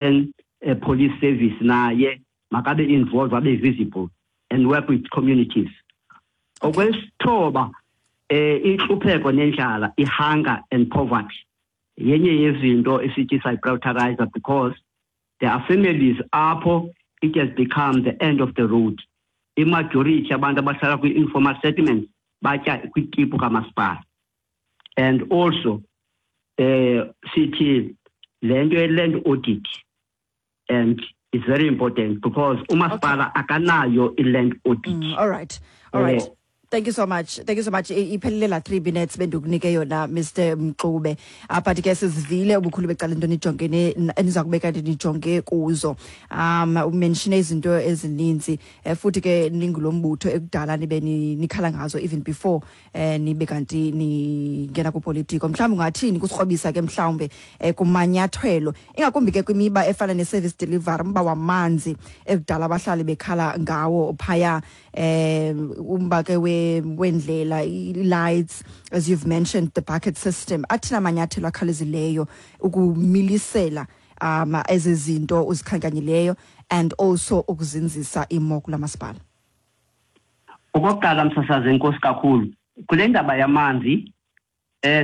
Police Service naye makabe involved, abe visible and work with communities. Okwesithoba, intlupheko nendlala, i-hunger and poverty, yenye yezinto esithi sayiprioritize because there are families apho it has become the end of the road. Imajority abantu abahlala kwi-informal settlements batya kwitipu kamasipala. And also sithi le nto ye-land audit and it's very important because umasipala akanayo i-land audit. All right. Thank you so much. Thank you so much. Iphelile la 3 minutes bendikunike yona, Mr Mxube. But ke sizivile ubukhulu becala into nijongene eniza kubeka nijonge kuzo. Umention izinto ezininzi, futhi ke ningulombutho ekudala nibe nikhala ngazo even before nibe kanti ningena kupolitiko. Mhlawumbi ungathini kusikrobisa ke mhlawumbe kumanyathelo, ingakumbi ke kwimiba efana ne-service delivery, umba wamanzi ekudala abahlali bekhala ngawo phaya, umba ke wendlela, i-lights, as you've mentioned, the bucket system? Athina amanyathelo akhawulezileyo ukumilisela ezi zinto uzikhankanyileyo and also ukuzinzisa imo kula masipala? Okokuqala, msasazi, enkosi kakhulu. Kule ndaba yamanzi,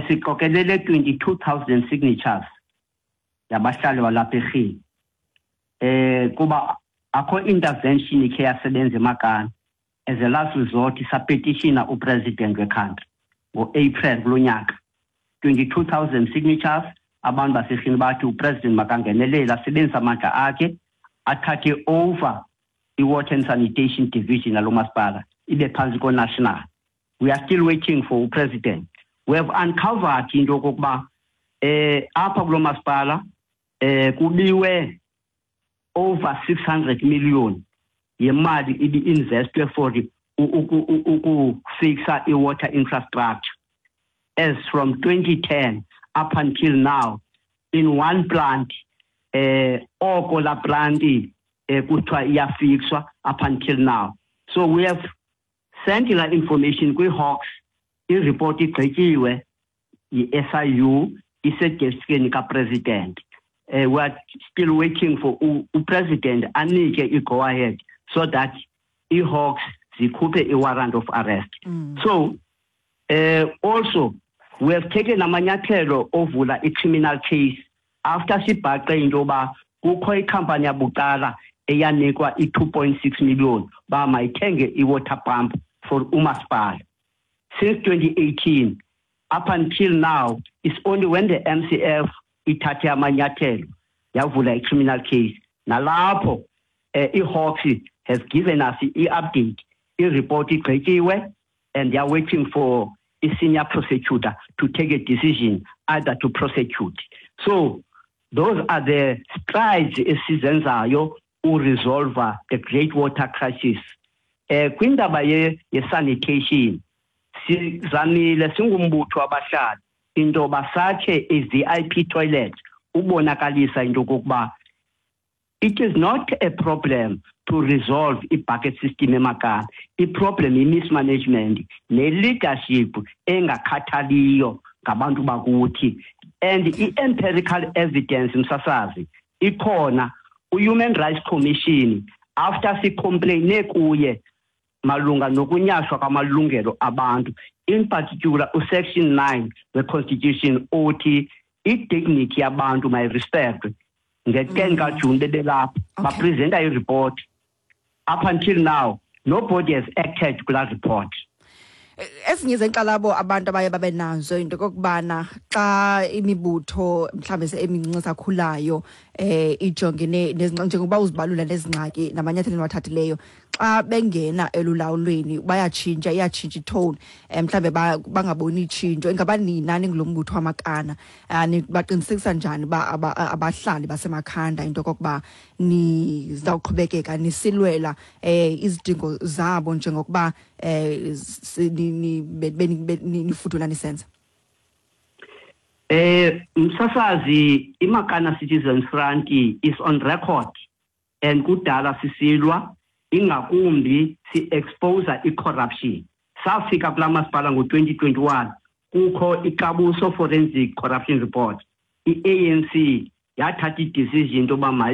siqokelele 22,000 signatures yabahlali balapha eRhini, kuba akho intervention ikhe yasebenza eMakana. As a last resort sapetitiona upresident wecountry ngo-April kulo nyaka, 22,000 signatures. Abantu baseRhini bathi upresident makangenelele, asebenzise amandla akhe, athathe over i-water and sanitation division yalo masipala, ibe phantsi ko-national. We are still waiting for upresident. We have uncovered into yokokuba apha kulo masipala kubiwe over 600 million yemali ibi-investwe for ukufixa i-water infrastructure as from 2010 up until now in one plant. Oko la plant kuthiwa iyafixwa up until now. So we have sent la information kwi-Hawks. I-report igqityiwe yi-SIU, isedeskini kapresident. We are still waiting for upresident anike i-go ahead so that i-Hawks zikhuphe i-warrant of arrest. So also we have taken amanyathelo ovula i-criminal case after sibhaqe into yoba kukho ikhampani yabucala eyanikwa i-2.6 million uba mayithenge i-water pump for umasipala since 2018 up until now. It's only when the MCF ithathe amanyathelo yavula i-criminal case, nalapho i-Hawks has given us i-update, i-report igqityiwe and they are waiting for a senior prosecutor to take a decision either to prosecute. So those are the strides esizenzayo uresolve the great water crisis. Kwindaba ye-sanitation, sizamile singumbutho wabahlali into basakhe i-VIP toilet ubonakalisa into kokuba it is not a problem to resolve i-bucket system eMakana. I-problem i-mismanagement ne-leadership engakhathaliyo ngabantu bakuthi. And i-empirical evidence, msasazi, ikhona. U-Human Rights Commission, after sicomplaine kuye malunga nokunyashwa kwamalungelo abantu, in particular usection 9 we-constitution othi i-dignity yabantu mayirespectwe, nge-10 kaJuni bebelapha bapresenta i-report. Up until now nobody has acted kulaa report. Ezinye zenkxalabo abantu abaye babe nazo into kokubana xa imibutho mhlawumbe emincinci esakhulayo ijongene njengoba uzibalula nezingxaki namanyathelo eniwathathileyo, xa bengena elulawulweni bayatshintsha, iyatshintsha itone, mhlawumbe bangaboni itshintsho. Ingaba nina ningulo mbutho waMakana, baqinisekisa njani uba abahlali baseMakhanda into yokokuba nizawuqhubekeka nisilwela izidingo zabo njengokuba nifudula nisenza? Msasazi, iMakana Citizens Front is on record and kudala sisilwa, ingakumbi si-expose i-corruption. Safika kulaa masipala ngo-2021 kukho iKabuso Forensic Corruption Report. I-ANC Yathatha i-decision into yoba